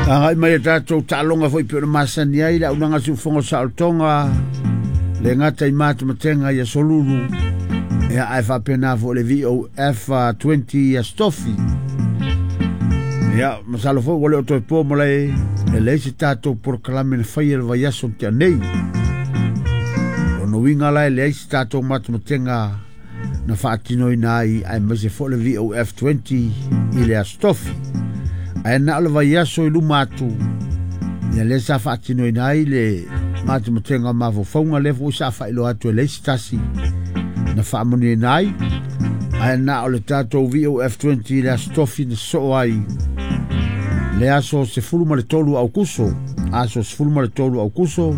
Agai mai tatou taaloga foi pe o le masani ai le aunaga siufogo saolotoga le gata i matematenga i aso lulu ia ae faapena foi le VOF 20 ia Stofi. Ia masalo foi ua le o toe po malae e leai se tatou polokalame na faia le vaiaso na tea nei. Lona uiga la e leai se tatou matematenga na faatinoina ai aemaise foi le VOF 20 i le aso Tofi. Ae na o le vaiaso i luma atu ia lea sa faatinoina ai le matematenga o mafaufauga lea foi sa faailoa atu e leai se tasi na faamanuiaina ai. Ae na o le tatou VOF 20 i le aso Tofi na sosoo ai le aso 13 Aukuso, aso 13 Aukuso,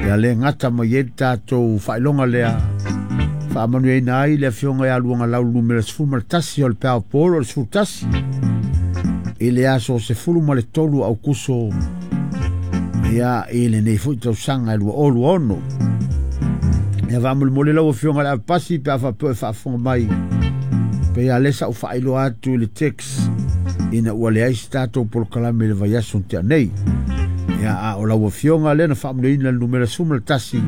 ia le gata mai ai le tatou faailoga lea faamanuiaina ai le afioga ia Luagalau numera 11 o le Peao Polo o le 11 i le aso 13 Aukuso ia i lenei foi tausaga e 2026. Ia faamolemole lau afioga i le avepasi pe a faapea e faafofoga mai pe ia lea sa ou faailoa atu i le text ina ua leai se tatou polokalame i le vaiaso na tea nei. Ia a o lau afioga lea na faamanuiaina le numera 11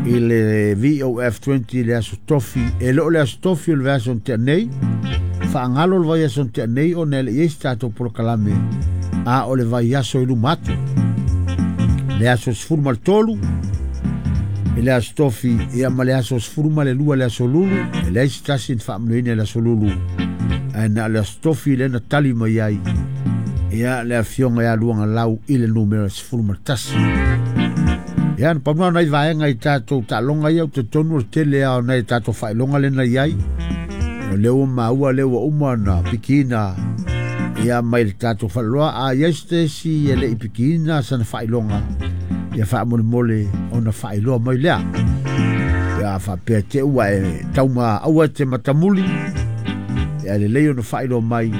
i le VOF 20 i le aso Tofi. E le o le aso Tofi o le vaiaso na tea nei, faagalo le vaiaso na tea nei ona e le i ai se tatou polokalame, a o le vaiaso i luma atu le aso 13 i le aso Tofi ia ma le aso 12 le aso Lulu, e leai se tasi na faamanuiaina i le aso Lulu, ae na o le aso Tofi lea na tali mai ai ia le afioga ia Luagalau i le numera 11. Ia na pau na nai vaega i tatou taaloga ia ou te talitonu o le tele lava o nai tatou faailoga lea na i ai. O lea ua maua lea ua uma ona pikiina ia mai le tatou faleloa. A i ai se isi e le i pikiina sana faailoga, ia faamolemole ona faailoa mai lea. Ia faapea te ua e tauma aua e te matamuli, ia lelei ona faailoa mai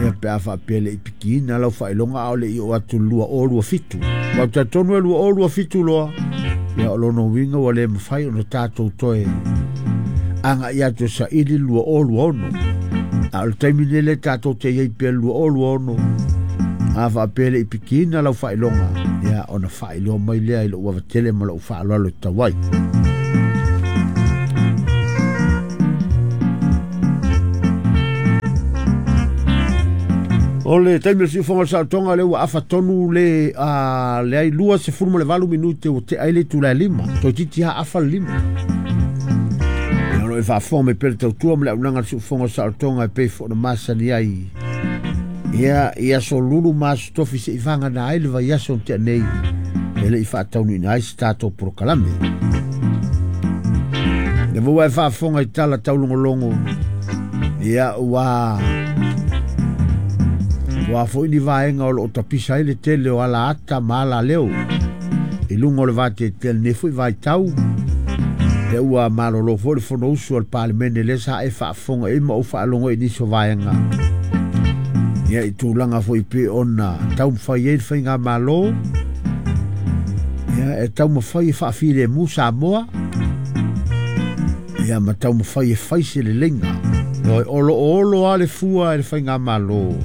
ia pe a faapea le i pikiina lau faailoga a o le i oo atu i le 2027. Ua ou talitonu e 2027 loa, ia o lona uiga ua le mafai ona tatou toe agai atu e saili le 2026. A o le taimi nei lea tatou te i ai pea i le 2026, a faapea le i pikiina lau faailoga, ia ona faailoa mai lea i lou avatele ma lou faaaloalo e tatau ai. O le taimi o le siufoga o le saolotoga lea ua afa tonu le leai 28 minute ua tea ai le itula e 5. Toeitiiti lava afa le 5. Ia o lo o e faafofoga mai pea le tautua ma le auaunaga a le siufoga o le saolotoga e pei foi ona masani ai. Ia, i aso Lulu ma aso Tofi seia vagana ai le vaiaso na tea nei e le i faataunuuina ai se tatou polokalame. Lea foi ua e faafofoga i tala taulogologo, ia ua foi ni vaega o lo o tapisa ai le tele o ala ata ma ala leo i luga o le vateatea i lenei foi vaitau. Lea ua malolo foi le Fonousu a le Palemene lea sa e faafofoga i ai ma ou faalogo i nisi o vaega. Ia i tulaga foi pei ona taumafai ai le faigamalo, ia e taumafai e faafilemu Samoa, ia ma taumafai e fai se leleiga. O lo o olo lava le fua e le faigamalo,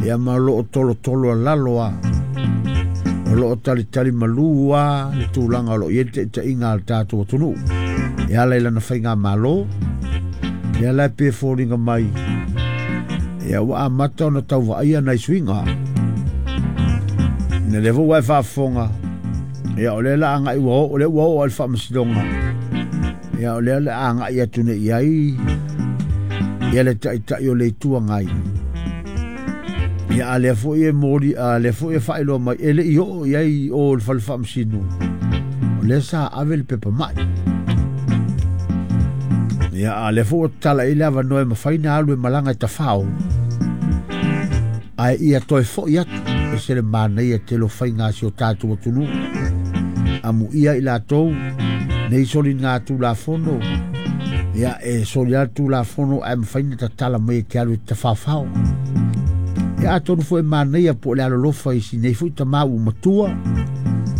ia ma o lo o tolotolo a lalo lava, o lo o talitali malu lava le tulaga o lo o i ai le taitaiga a le tatou atunuu e ala i lana faigamalo. Lea la e pei e foliga mai ia ua amata ona tau vaaia nai suiga. Ina lea foi ua e faafofoga, ia o lea la agai ua oo, o lea ua oo i le faamasinoga, ia o lea la agai atu nei i ai ia le taitai o le Itu Agai. Ia a lea foi e moli, a lea foi e faailoa mai e le i oo i ai o le fale faamasino, o lea sa ave le pepa mai. Ia a lea foi ua tatala i le avanoa e mafai ona alu e malaga e tafao, ae ia toe foi atu. E se le manaia tele o faiga a si o tatou atunuu. Amuia i latou nei soliga Tulafono, ia e soli lava le Tulafono ae mafai ona tatala mai e te alu e te tafaofao. Ia atonu foi e manaia po o le alolofa i si nei foi tamā ua matua,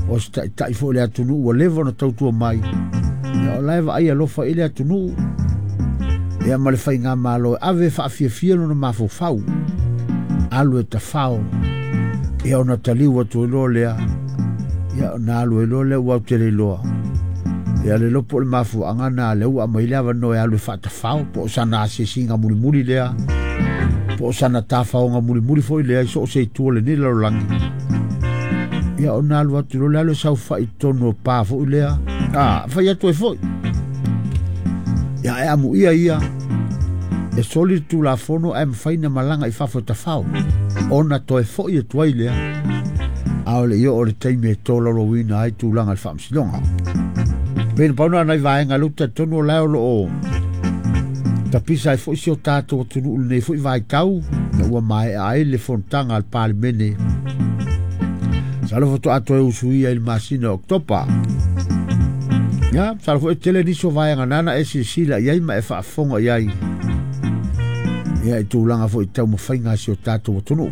o se taitai foi o le atunuu ua leva ona tautua mai, ia o la e vaai alofa i le atunuu, ia ma le faigamalo e ave e faafiafia lona mafaufau. Alu e tafao. Ia ona taliu atu ai loa lea. Ia ona alu ai loa lea ua ou te le iloa. Ia le iloa po o le mafuaaga na lea ua aumai le avanoa e alu e faatafao po o sana asiasiga mulimuli lea po o sana tafaoga mulimuli foi lea i so o se itu o lenei lalolagi. Ia ona alu atu loa le alu e saofai i totonu o pa foi lea. A, fai atu ai foi. Ia e amuia ia e soli le Tulafono ae mafai na malaga i fafo e tafao ona toe foi atu ai lea. A o le i oo le taimi e tolaulauina ai tulaga i le Faamasinoga. Pei na pau na o nai vaega lea ou te talitonu o la e o lo o tapisa ai foi si o tatou atunuu i lenei foi vaitau ina ua maea ai le fonotaga a le Palemene. Masalo faatoa toe usuia i le masina o Oketopa. Ia, masalo foi e tele nisi o vaega nana e silasila i ai ma e faafofoga i ai. Ia, i tulaga foi i taumafaiga a si o tatou atunuu.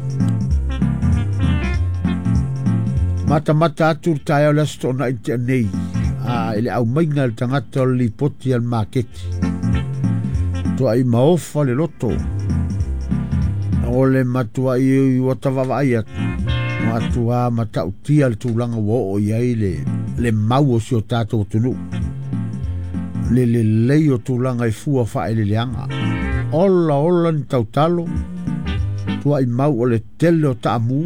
Matamata atu le taeao le Aso Toonai na tea nei, a i le aumaiga e le tagata o le lipoti a le maketi. Tuai maofa le loto. O le matuai ua tavaavaai atu, matua matautia le tulaga ua oo i ai le, le mau o si o tatou atunuu. Le lelei o tulaga i fua faaeleeleaga. Ola ola ni tautalo, tuai mau o le tele o taamu,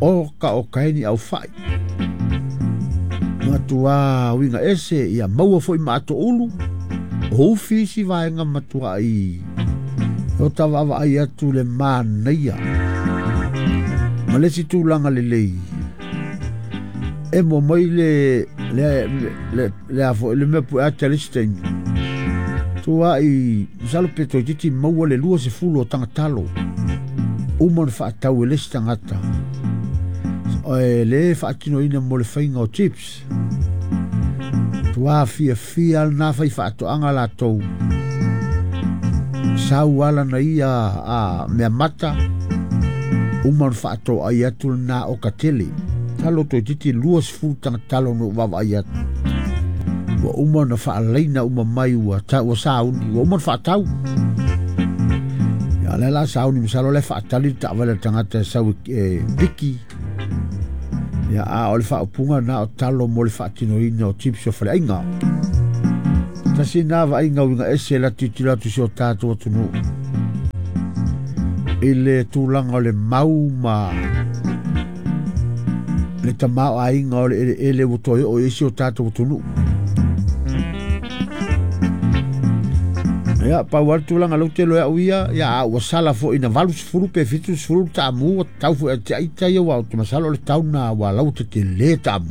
oka oka ai ni aufai. Matua uiga ese, ia maua foi ma ato ulu, o ufi isi vaega matuai o tavaavaai atu le manaia. Ma le isi tulaga lelei, emo mai le le le le a foi le mea pue ata le isi taimi. Tuai, masalo pe toeitiiti maua le 20 o tagatalo uma ona faatau e le isi tagata e le faatinoina mo le faiga o chips. Tua fiafia lena fai faatoaga latou. Sau ala na ia a mea mata uma ona faatoai atu lena oka tele. Talo toeitiiti 20 tagatalo na ou vaavaai atu. Ua uma ona faalaina uma mai ua, ta, ua sauni, ua uma ona faatau. Ia, o lea la sauni, masalo o la e faatali le taavale a le tagata e sau e, e piki. Ia, a o le faaupuga na o talo mo le faatinoina o chips o faleaiga. Tasi nā vaaiga uiga ese la tilotilo atu i si o tatou atunuu i le tulaga o le mau ma le tamaoaiga o le eleele ua toe oo i ai si o tatou atunuu. Ia, pau lava le tulaga lea ou te iloa e au ia, ia, a ua sala foi ina 80 pe 70 le taamu, ua tau foi ia te ita ia, aua ou te masalo o le tau lena ua laua tetele taamu.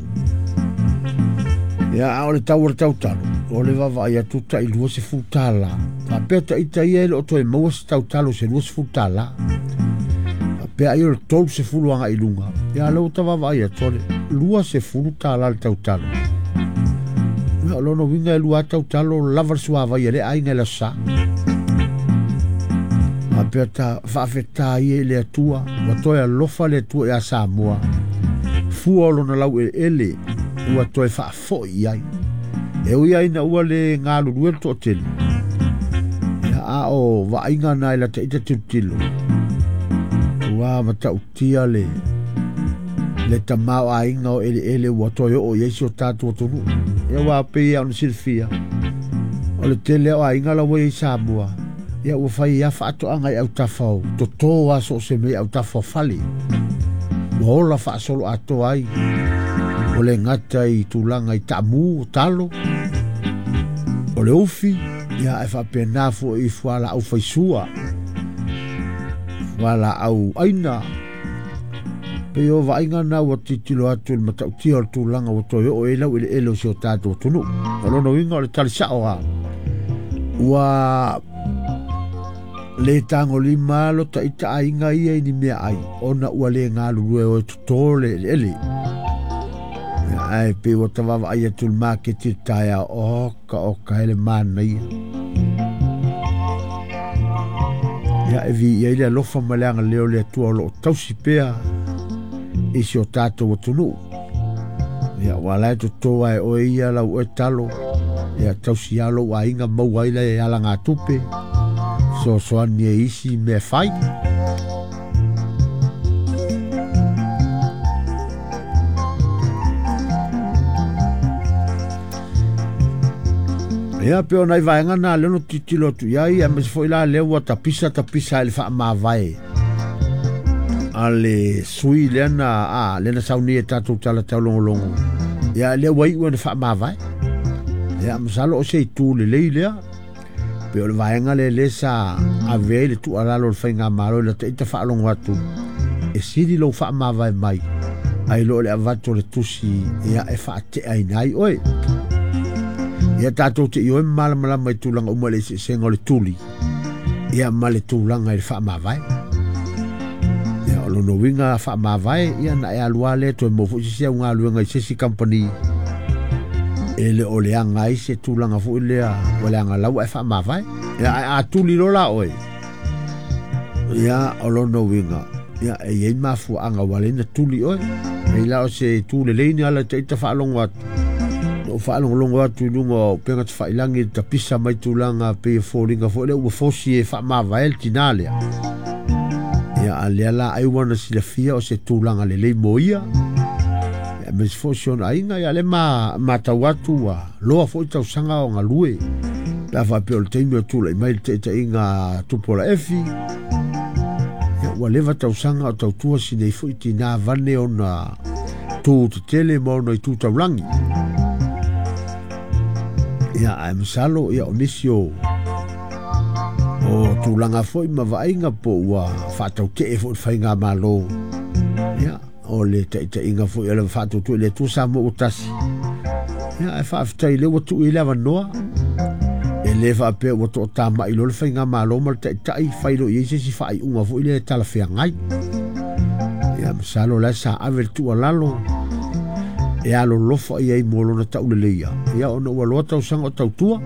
Ia, a o le tau o le tautalo, o le vaavaai atu tai $20. Faapea ta ita ia e le o toe maua se tautalo i se $20. Faapea ai o le 30 agai i luga. Ia, o lea ua ta vaavaai atu, o le $20 le tautalo. Ia, o lona uiga e lua lava tautalo lava le suavai a lea aiga i le Aso Sa. Faapea ta faafetai ia i le Atua, ua toe alofa le Atua ia Samoa, fua o lona laueleele ua toe faafoi i ai. E ui lava ina ua le galulue le toatele, ia, a o vaaiga na i lata ita tilotilo, ua matautia le le tamaoaiga o eleele ua toe oo i ai si o tatou atunuu. Ia, aua pei lava ona silafia, o le tele o aiga la ua i ai i Samoa, ia ua fai lava faatoaga i autafa o toto lava so o se mea i autafa o fale. Ua ola faasoloatoa ai, ua le gata i tulaga i taamu, o talo, o le ufi, ia ae faapena foi i fualaau faisua, fualaau aina. Pei o vaaiga na ua tilotilo atu i le matautia o le tulaga ua toe oo i ai laueleele o si o tatou atunuu. O lona uiga o le tali sao lava, ua le tagolima lo ta ita aiga ia i ni meaai ona ua le galulue o e toto le eleele. Ae pei ua ta vaavaai atu i le maketi i le taeao, oka oka e le manaia. Ia, e viia ai le alofa ma le agalelei o le Atua o lo o tausi pea i si o tatou atunuu. Ia, ua la e toto lava e oe ia lau oe talo, ia tausi lava lou aiga maua ai le alagatupe, fesoasoani e isi mea e fai. Ia pe o nai vaega na lea na tilotilo atu i ai, aemaise foi la lea ua tapisa tapisa i le faamavae a le sui lea na a lea na sauni e tatou tala taulogologo. Ia lea ua iu ina faamavae. Ia masalo o se itu lelei lea. Pe o le vaega lea lea sa ave ai le tuualalo o le faigamalo i lata ita faalogo atu e sili lou faamavae mai ai lo le avatu o le tusi ia e faateaina ai oe. Ia tatou te ioe malamalama i tulaga uma i le eseesega o le tuli ia ma le tulaga i le faamavae. Ia o lona uiga faamavae ia na e alu lava lea toe maua foi se isi au galuega i se isi kamupani e le o leaga ai se tulaga foi lea ua leaga lau ae faamavae. Ia ae a tuli loa la oe, ia o lona uiga ia e i ai mafuaaga ua ala ai ona tuli oe. Pei la o se itu lelei ni ala ita faalogo atu. Na ou faalogologo atu i luga o upega tafailagi i le tapisa mai tulaga pei e foliga foi lea ua fosi e faamavae le tinā lea. Ia a lea la ai ua na silafia o se tulaga lelei mo ia. Ia aemaise foi o si ona aiga, ia lea ma matau atu ua loa foi tausaga o galue. Pe a faapea o le taimi o tulai mai le taitaiga a Tupuola Efi, ia ua leva tausaga o tautua si nei foi tinā vane ona tu tetele ma ona itu taulagi. Ia ae masalo ia o nisi o tulaga foi ma vaaiga po ua faatautee foi le faigamalo. Ia o le taitaiga foi o le faatuatua i le Atua Samoa ua tasi. Ia ae faafetai lea ua tuu i le avanoa. E le faapea ua toatamai loa le faigamalo ma le taitai fai loa i ai se isi faaiuga foi lea e talafeagai. Ia masalo la sa ave le tuualalo e alolofa i ai mo lona tauleleia. Ia ona ua loa tausaga o tautua.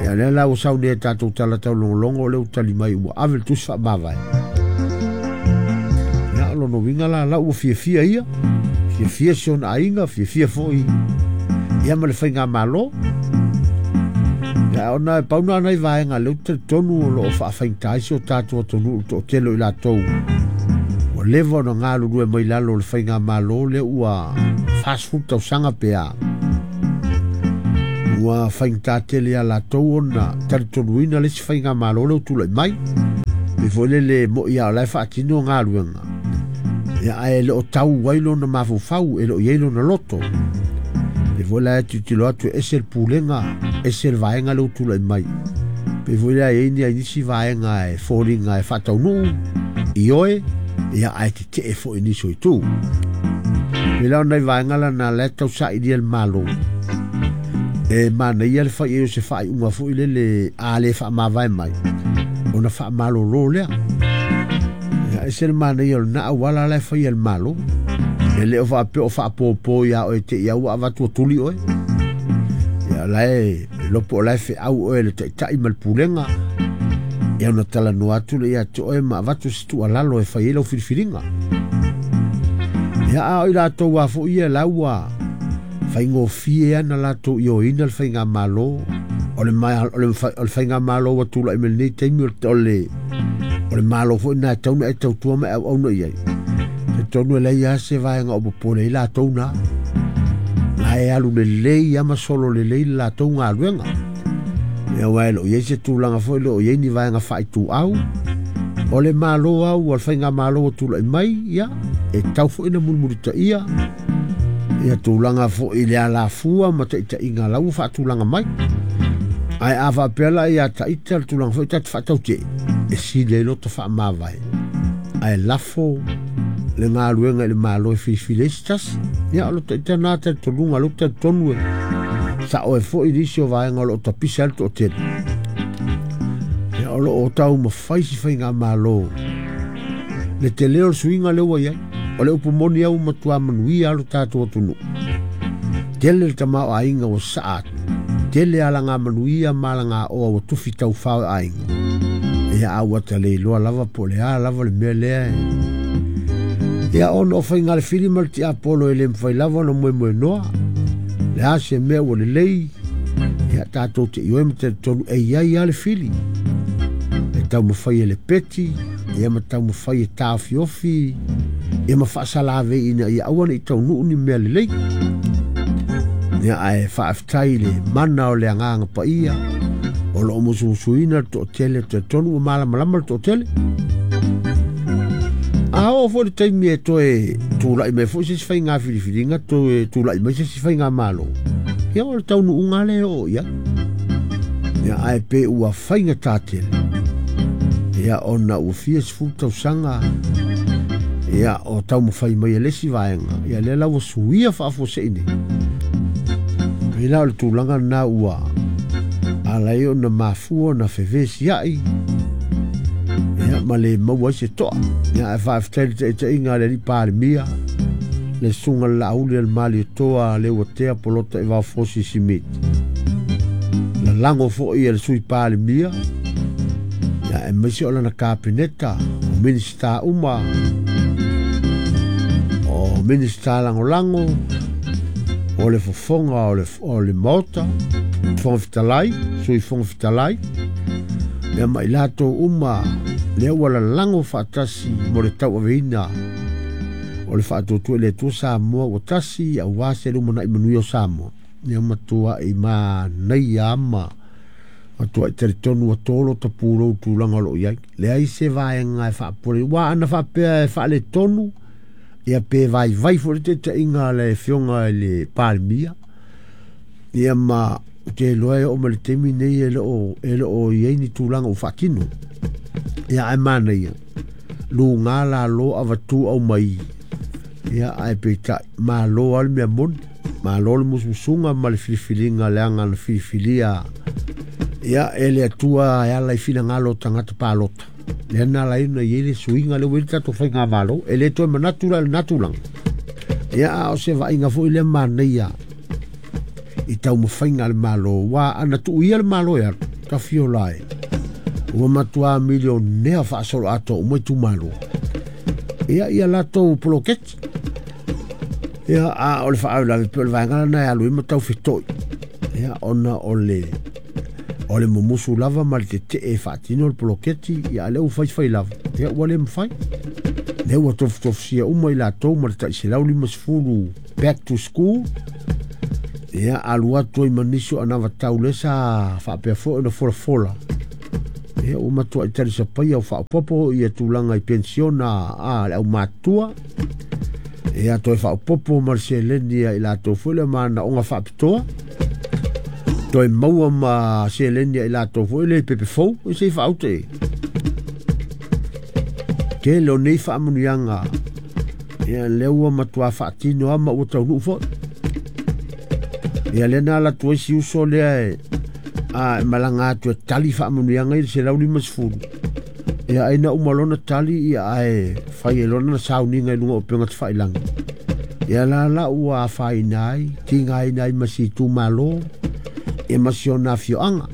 Ia lea la ua sau nei e tatou tala taulogologo lea ua tali mai ua ave le tusi faamavae. Ia o lona uiga la la ua fiafia ia, fiafia si ona aiga, fiafia foi ia ma le faigamalo. Ia ona e pau na nai vaega lea ou te talitonu o lo o faafaigata ai si o tatou atunuu i le toatele o i latou ua leva ona galulue mai lalo o le faigamalo lea ua 40 tausaga pe a. Ua faigata tele ia latou ona talitonuina le isi faigamalo lea ua tulai mai. Pei foi lele mo'i lava o la e faatino galuega, ia ae le o tau ai lona mafaufau, e le o i ai lona loto. Pei foi la e tilotilo atu e ese le pulega, ese le vaega lea ua tulai mai. Pei foi la e i ai nisi vaega e foliga e faataunuu ioe, ia ae tetee foi i nisi o itu. Pei la o nai vaega lana la e tausailia le Malo. E manaia le fai ai o se faaiuga foi lele a le faamavae mai, ona faamalolo lea. Ia ese le manaia o lena auala la e fai e le Malo. E le o faapea o faapopo ia oe te i au ua avatu ua tuli oe. Ia la e lopo o la e feau oe le taitai ma le pulega. Ia ona talanoa atu lea ia te oe ma avatu se tuualalo e fai ai lau filifiliga. Ia a o i latou a foi ia la ua faigofie ana latou ioeina le faigamalo o le faigamalo ua tulai mai lenei taimi o le Malo foi na e tau na e tautua ma e auauna i ai. Talitonu e leai lava se vaega o popole ai latou na. La e alu lelei lava ma solo lelei le latou galuega. Ia aua e le o i ai se tulaga foi le o i ai ni vaega faaituau. O le Malo lava ua le faigamalo ua tulai mai, ia, e tau foi na mulimulitaia ia tulaga foi i le alafua ma taitaiga la ua faatulaga mai. Ae a faapea la ia taita le tulaga foi ta te faatautee, e sili ai loto faamavae. Ae lafo le galuega i le Malo e filifili ai se tasi. Ia o lo taita na talitonuga lea ou te talitonu e sao ai foi nisi o vaega o lo o tapisa ai le toatele. Ia o lo o taumafai si faigamalo le tele o le suiga lea ua i ai. O le upu moni au matua manuia lo tatou atunuu. Tele le tamaoaiga ua saa atu. Tele alaga manuia ma alaga oa ua tufi taufao e aiga. Ia a ua ta le iloa lava po o le a lava le mea lea e. Ia ona o faiga le fili ma le tiapolo e le mafai lava ona moemoenoa. Le a se mea ua lelei, ia tatou te ioe ma talitonu e i ai lava le fili. E taumafai e le peti, ia ma taumafai e taofiofi, ia ma faasalavei ina ia aua ne i taunuu ni mea lelei. Ia ae faafetai i le mana o le agaga paia o loo musumusuina le toatele, talitonu ua malamalama le toatele. A oo foi le taimi e toe tulai mai foi se isi faiga filifiliga, toe tulai mai se isi faigamalo, ia o le taunuuga lea e oo i ai. Ia ae pe ua faigata tele, ia ona ua fia 10 tausaga ia o taumafai mai e le isi vaega, ia lea la ua suia faafuasei nei. Pei la o le tulaga lena ua ala ai ona mafua ona fevesiai, ia ma le maua ai se toa. Ia ae faafetai i le taitaiga a le alii Palemia, le susuga i le Laauli a le Malietoa Leuatea Polota Evaofosi Simiti. Lalago foi e le Sui Palemia, ia aemaise o lana Kapeneta, o Minisita uma, o Minisita Lagolago, o le fofoga o le Maota, Fofoga Fetalai, Sui Fofoga Fetalai, ia ma i latou uma lea ua lalago faatasi mo le tauaveina o le faatuatua i le Atua Samoa ua tasi aua se lumanai manuia o Samoa. Ia matuai manaia ma matuai talitonu ua tolo tapulou tulaga o lo o i ai. Leai se vaega e faapole, ua ana faapea e faaletonu, ia pe vaivai foi le taitaiga a le afioga i le Palemia, ia ma ou te iloa e oo mai le taimi nei e le o i ai ni tulaga ua faatino. Ia ae manaia, luga lalo avatu aumai, ia ae peitai, malo lava le mea moni, malo le musumusuga ma le filifiliga leaga na filifilia ia e le Atua e ala i finagalo o tagata palota. Lea na ala ai ona i ai le suiga lea ua i ai le tatou faigamalo, e le toe manatu la i lena tulaga. Ia a o se vaaiga foi lea manaia i taumafaiga a le Malo, ua ana tuuia le Malo e alu, tafiola e ua matua milionea faasoloatoa uma itumalo. Ia ia latou poloketi. Ia a o le faalavelave pe o le vaega lena e alu ai ma taufetoi. Ia ona o le mumusu lava ma le tetee e faatino le poloketi, ia a lea ua faifai lava, ia ua le mafai. Lea ua tofutofusia uma i latou ma le tai 150 back to school. Ia alu atu ai ma nisi o anavatau lea sa faapea foi ona folafola. Ia ua matuai talisapaia o faaopoopo ia tulaga i pensiona a le aumatua. Ia toe faaopoopo ma le seleni a i latou foi le manaoga faapitoa. Toe maua ma seleni a i latou foi le pepe fou, se i faaute e. Tele o nei faamanuiaga, ia lea ua matua faatino lava ma ua taunuu foi. Ia lea na ala atu ai si uso lea e malaga atu e tali faamanuiaga i le 150. Ia ai na uma lona tali, ia ae fai e lona sauniga i luga o upega tafailagi. Ia la la ua afaina ai, tigaina ai ma si itumalo, ia ma si ona afioaga.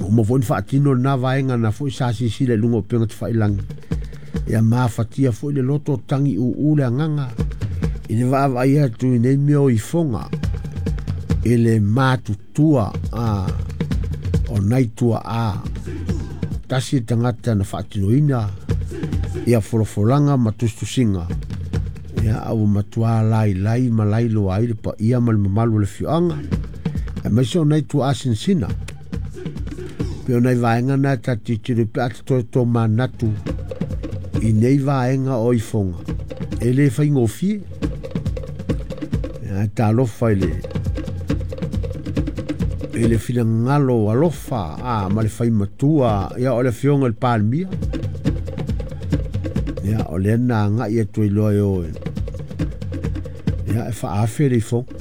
Uma foi na faatino lena vaega na foi sa sisila i luga o upega tafailagi. Ia mafatia foi le loto tangi uu le agaga i le vaavaai atu i nei mea o ifoga i le matutua o nai tuaa. Tasi le tagata na faatinoina ia folafolaga ma tusitusiga, ia a ua matua lailai ma lailoa ai le paia ma le mamalu o le afioaga, aemaise o nai tuaa sinasina. Pe o nai vaega na e tatou tilotilo pe a toe tomanatu i nei vaega o ifoga, e le faigofie. Ia talofa i le finagalo alofa ma le faimatua, ia o le afioga i le Palemia. Ia o lea na agai atu ai loa e o e ia e faaafe le ifoga.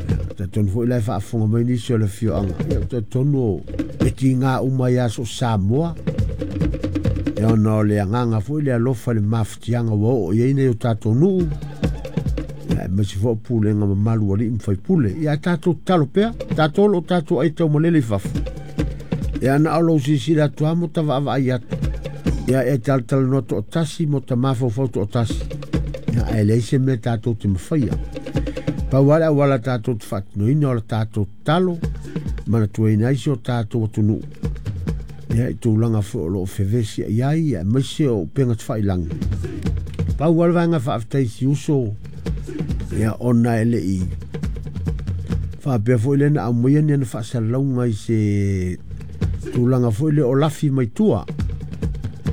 Ia talitonu foi la e faafofoga mai nisi o le afioaga, ia talitonu e tiga uma ia so Samoa. Ia ona o le agaga foi le alofa i le mafatiaga ua oo i ai nei o tatou nuu, ia aemaise foi o pulega mamalu a alii ma faipule. Ia tatou tatalo pea, tatou lo tatou ai taumalele i fafo. Ia na o lou silasila atu lava mo ta vaavaai atu. Ia e talatalanoa toatasi mo ta mafaufau toatasi. Ia ae leai se mea tatou te mafaia. Pau lava le auala tatou te faatinoina o le tatou tatalo, manatuaina ai si o tatou atunuu. Ia i tulaga foi o loo fevesi i ai, aemaise o upega tafailagi. Pau lava le vaega faafetai si uso, ia ona e le i Faapea foi lea na aumaia ni ana faasalalauga i se tulaga foi lea o lafi mai tua,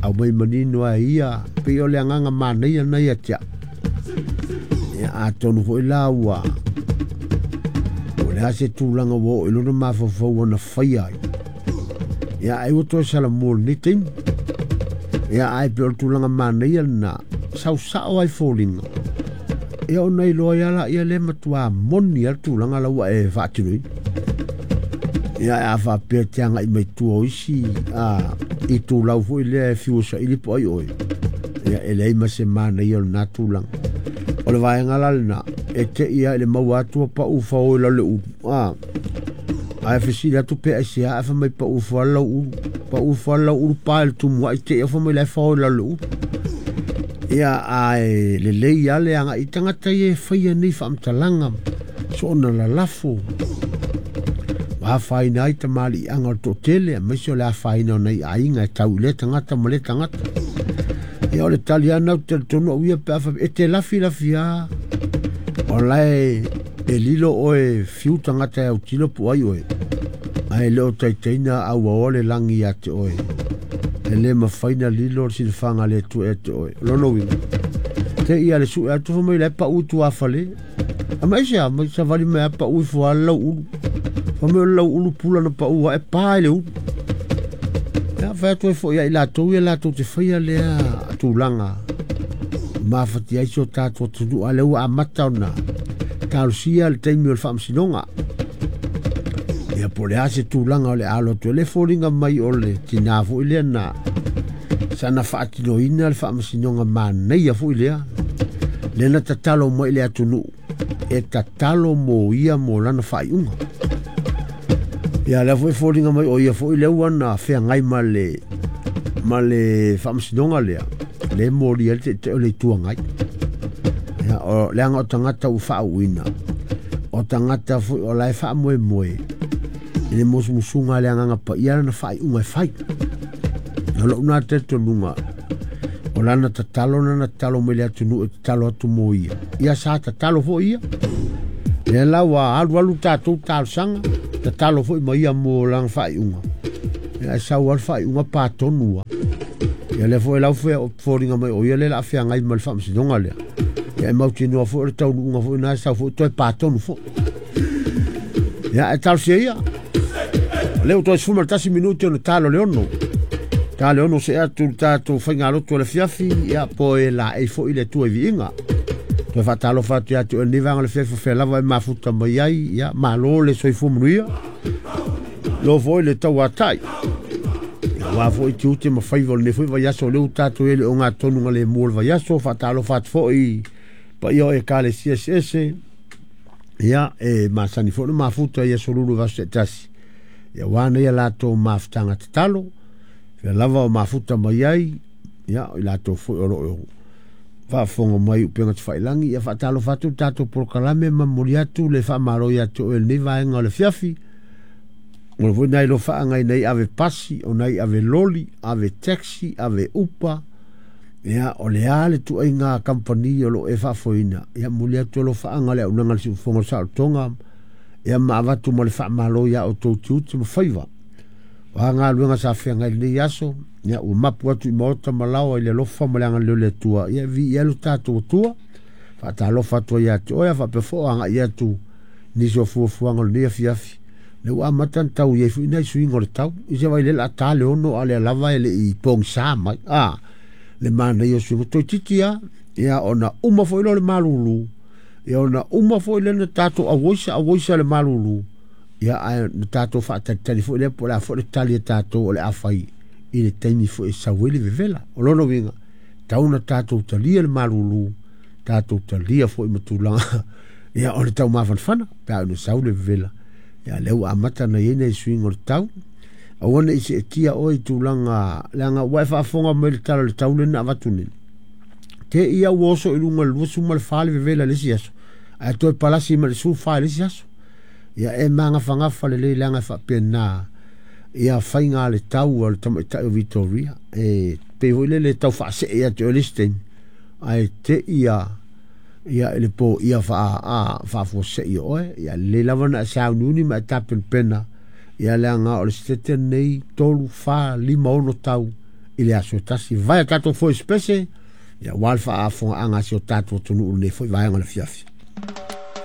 aumai manino ai ia, pei o le agaga manaia lena ia te au. Ia, atonu foi la ua o le a se tulaga ua oo i lona mafaufau ua na faia ai. Ia, ai ua toe salamua i lenei taimi. Ia, ae pei o le tulaga manaia lena, sausao ai foliga. Ia ona iloa ai lea lea matua moni lava le tulaga la ua e faatinoina. Ia, a faapea te agai mai tua o isi itulau foi lea e fiu saili po ai oe, ia e leai ma se manaia o lena tulaga. O le vaega la lena, e te i lava i le maua atu o pau fao i lalo le ulu. Ae fesili atu pe aisea, ae fai mai pau fao lau ulu. Pau fao lau ulu pa i le tumuai te i au fai mai la e fao i lalo le ulu. Ia, ae lelei lava le agai i tagata ia e faia nei faamatalaga, soona lalafo, ua afaina ai tamaliiaga o le toatele, aemaise o le afaina o nai aiga e tau i lea tagata ma lea tagata. Ia, o le tali lava lena ou te talitonu au ia pe a faapea, e te lafilafi lava, o la e lilo oe fiu tagata e autilo po o ai oe, ae le o taitaina auaoa le lagi ia te oe. E le mafai na lilo le silafaga a le Atua ia te oe. O lona uiga, te i a le sue atu fai mai la e pau i tuafale. A mai se a mai savali mai a pau ifo a lau ulu. Fai mai o le lau ulu pula na pau a e pa i le ulu. Ia, fai atu ai foi ia i latou ia latou te faia lea tulaga mafatia ai si o tatou atunuu, a lea ua amata ona talosia le taimi o le faamasinoga. Ia, po o le a se tulaga o le a alo atu ai le foliga mai o le tinā foi lea na sana faatinoina le faamasinoga manaia foi lea, lea na tatalo mai i le atunuu e tatalo mo ia mo lana faaiuga. Ia, lea foi foliga mai o ia foi lea ua na feagai ma le faamasinoga lea, le molia ai le taitai o le Itu Agai. Ia, o leaga o tagata ua faauuina, o tagata foi o la e faamoemoe i le musumusuga a le Agaga Paia lana faaiuga e fai. O lou na talitonuga, o lana tatalo lana tatalo mai le atunuu e tatalo atu mo ia. Ia sa tatalo foi ia. Lea la ua alualu tatou talosaga, tatalo foi ma ia mo lana faaiuga. Ia, e sau lava le faaiuga patonu lava. Ia, lea foi lau foliga mai o ia lea la feagai ma le faamasinoga lea. Ia, e mautinoa foi o le taunuuga foi na e sau foi toe patonu foi. Ia, e talosia ia. O lea ua toe 11 minute ona talo le ono. Ta le ono se atu le tatou faigalotu o le afiafi, ia po e laei foi le Atua i viiga. Toe faatalofa atu ia te oe lenei vaega o le afiafi o fea lava e mafuta mai ai, ia malo le soifua manuia. Lo foi le tauatai. Aua foi tiute ma faiva o lenei foi vaiaso, o lea ua tatou i ai le ogatotonu le mua o le vaiaso. Faatalofa atu foi paia o ekalesia eseese. Ia, e masani foi na mafuta i aso lulu vaiaso taitasi. Ia, aua nei a latou mafutaga tatalo, fea lava o mafuta mai ai, ia, o i latou foi o lo o faafofoga mai i upega tafailagi. Ia, faatalofa atu le tatou polokalame ma momoli atu le faamalo ia te oe i lenei vaega o le afiafi. O le foi nai lofaaga i nai ave pasi, o nai ave loli, ave taxi, ave upa. Ia, o le a le tuaiga kamupani o lo o e faafoeina. Ia, momoli atu alofaaga le auaunaga a le Siufofoga o le Saolotoga. Ia, ma avatu ma le faamalo ia outou tiute ma faiva. O a galuega sa feagai i lenei aso, ia, ua mapu atu i maota ma laoa i le alofa ma le agalelei o le Atua. Ia, viia ai lo tatou Atua. Faatalofa atu ai ia te oe, faapea foi o agai atu nisi o fuafuaga o lenei afiafi. Le ua amata na tau i ai foi nai suiga o le tau. I se vai le la ta le ono a lea lava e le i pogisa mai. Le manaia o suiga toeitiiti lava. Ia, ona uma foi lea o le malulu. Ia, ona uma foi lea na tatou auoisa le malulu. Ia, ae na tatou faatalitali foi lea po o le a foi le tali a tatou o le a fai i le taimi foi e sau ai le vevela. O lona uiga, tau na tatou talia le malulu, tatou talia foi ma tulaga ia o le taumafanafana pe a ona sau le vevela. Ia, lea ua amata na i ai nai suiga o le tau. Aua ne i seetia oe i tulaga, leaga ua e faafofoga mai le tala o le tau lea na avatu nei. Te ia ua oso i luga i le 24 le vevela i le isi aso, ae toe palasi ma le 14 i le isi aso. Ia, e magafagafa lelei leaga e faapena ia faiga le tau o le tamaitai o Victoria. E pei foi lele tau faasee ia te oe le isi taimi, ae te ia Ia i le po ia faafuasei o oe. Ia lelei lava na e sauniuni ma e tapenapena. Ia leaga o le sitete lenei 3, 4, 5, 6 tau i le aso e tasi. Vae a tatou foi spese, ia ua le faafofogaaga a si o tatou atunuu i lenei foi vaega o le afiafi.